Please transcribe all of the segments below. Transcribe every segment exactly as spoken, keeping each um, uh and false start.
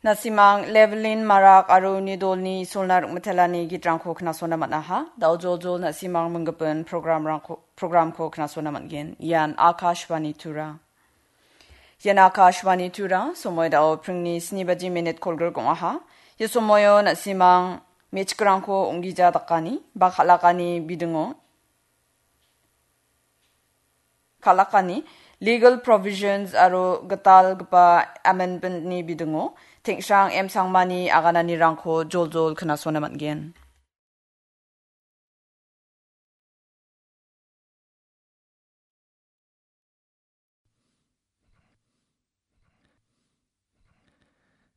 Na·simang Levelin Marak aro uni dolni Isolna Rikmitelani gitrangko knasona man·aha. Da·o joljol na·simang minggipin programrangko, programko knasona man·gen. Ian Akashvani Tura. Ian Akashvani Tura, somoi da·o pringni sni baji minit kolgrik ong·aha. Ia somoio na·simang me·chikrangko ong·gija dakani ba kal·akani bidingo, kal·akani legal provisions aro gitalgipa amendment-ni bidingo Tengshrang M Sangmani agananirangko joljol knasona man·gen.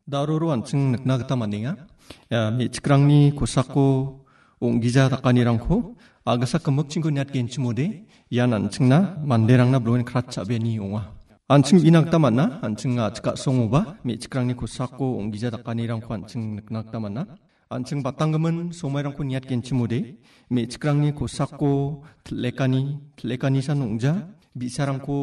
Daroro an·ching nikna gita man·enga. Ia me·chikrangni kosako ong·gija dakanirangko a·gisa gimikchingko niatgenchimode, ian an·chingna manderangna broen kratcha·beani ong·a. An·ching uina gita man·a, an·ching a·chik a·songoba me·chikrangni kosako ong·gija dakanirangko an·ching nikna gita man·a. An·ching batanggimin somairangko niatgenchimode, me·chikrangni kosako til·lekani, til·lekanisan ong·ja, bi·sarangko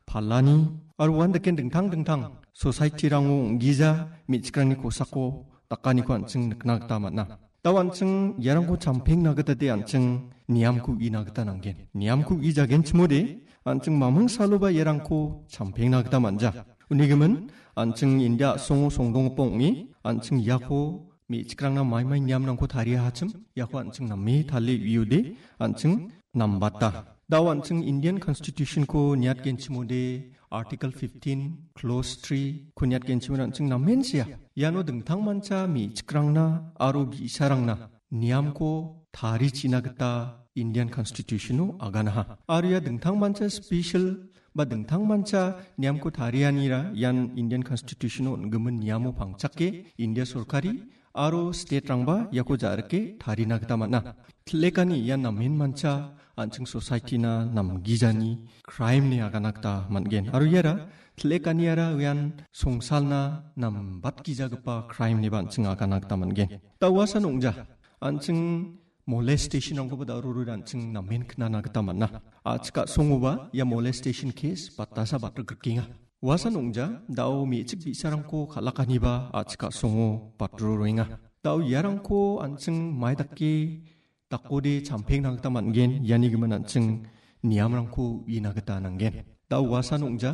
palani, aro uan daken dingtang dingtang society-rango ong·gija me·chikrangni kosako dakaniko an·ching nikna gita man·a. Da·o an·ching iarangko champengna gita de an·ching niamko uina gita nanggen. Niamko uijagenchimode, an·ching maming saloba iarangko champengna gita man·ja. Unigimin, an·ching India a·songo songdonggipa ong·e, an·ching iako me·chikrangna maimai niamrangko tariahachim, iako an·ching name tale uiode, an·ching nambata. Da·o an·ching Indian Constitution-ko niatgenchimode, Article fifteen, Clause three-ko niatgenchimode an·ching namen sea. Iano dingtangmancha me·chikrangna aro bi·sarangna niamko tarichina gita Indian Constitution-o aganaha. Aro ia dingtangmancha special ba dingtangmancha niamko tarianira ian Indian Constitution-o on·gimin niamo pangchake India sorkari aro state-rangba iako ja·rike tarina gita man·a. Til·lekani ian namenmancha an·ching society-na namgijani crime-ni agana gita man·gen. Aro iara til·lekaniara ian songsalna nambatgijagipa crime-niba an·ching agana gita man·gen. Da uasan ong·ja, an·ching molestation-rangkoba da·o roroi an·ching namen knana gita man·a. A·chik a·songoba ia molestation case batasa batrikrikenga. Uasan ong·ja, da·o me·chik bi·sarangko kal·akaniba a·chik a·songo batroroenga. Da·o iarangko an·ching mai dake dakode champengna gita man·gen, iani gimin an·ching niamrangko uina gita nanggen. Da·o uasan ong·ja,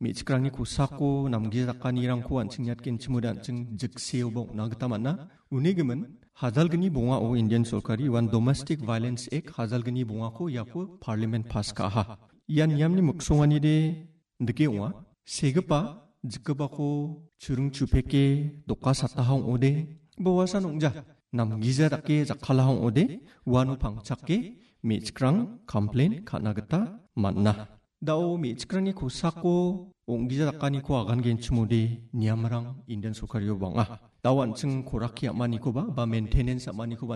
me·chikrangni kosako namgijakanirangko an·ching niatgenchimode an·ching jikseoba ong·na gita man·a. Uni gimin, hajalgni bongao Indian sorkari ian Domestic Violence Act hajalgni bongako iako parliament pass ka·aha. Ia niamni miksonganide dike ong·a. Segipa, jikgipako churing chupeke doka sataha ong·ode, ba uasan ong·ja, namgija dake jakkalaha ong·ode, uano pangchake me·chikrang complain ka·na gita man·a. Da·o me·chikrangni kosako ong·gija dakaniko agangenchimode niamrang Indian sorkario bang·a. Da·o an·ching koraki am·anikoba ba maintenance am·anikoba